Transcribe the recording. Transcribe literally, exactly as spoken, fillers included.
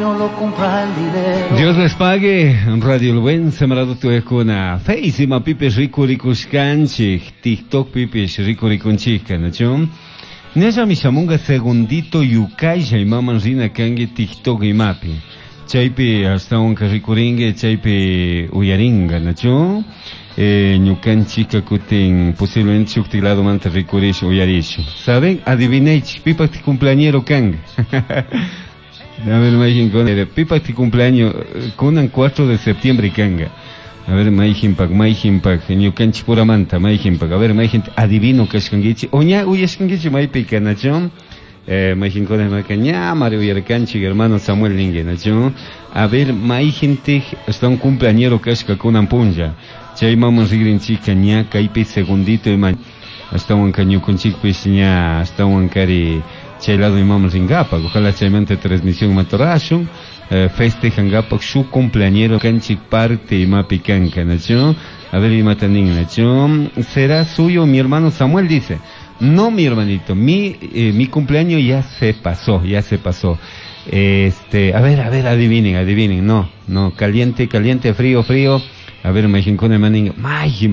No lo compra el dinero. Dios les pague, Radio El Buen Sembrado Tuekuna, Face ima pipish rikurikushkanchik, TikTok pipish rikurikunchisca, nachu? Ñallami shamunga segundito yukaylla imaman rina kanki TikTok imapi. Chaypi ashtawanka rikurinki, chaypi uyaringa, nachu? Eh, ñukanchika kutin posiblemente shuktik ladomanta rikurish uyarish. ¿Saben? Adivinaychik, pipak cumpleañero kanga. A ver, mayjin con pipak cumpleaños kunan cuatro de septiembre kanga. A ver, mayjinpak, mayjinpak, ñukanchik puramanta, mayjinpak. A ver, mayjin adivino kashkankichik. O ña uyashkankichik maypi kanachu. Eh, mayjinkuna maka ña mari uyarkanchik hermano Samuel ningue, nachu. A ver, mayjintik está un cumpleañero kashka kunan punlla. Chay maman rigrinchika ña kaypi segundito ima ashtawanka ñukunchikpish ña ashtawan kari chay lado imaman ringapak. Ojalá chaymanta transmisión matorashun. Eh, festejangapak su cumpleañero kanchik parte imapi kanka, nachu. A ver, imata nin, nachu. Será suyo mi hermano Samuel, dice. No, mi hermanito, mi, eh, mi cumpleaños ya se pasó, ya se pasó. Este, a ver, a ver, adivinen, adivinen. No, no, caliente, caliente, frío, frío. A ver, majinkuna manin, majin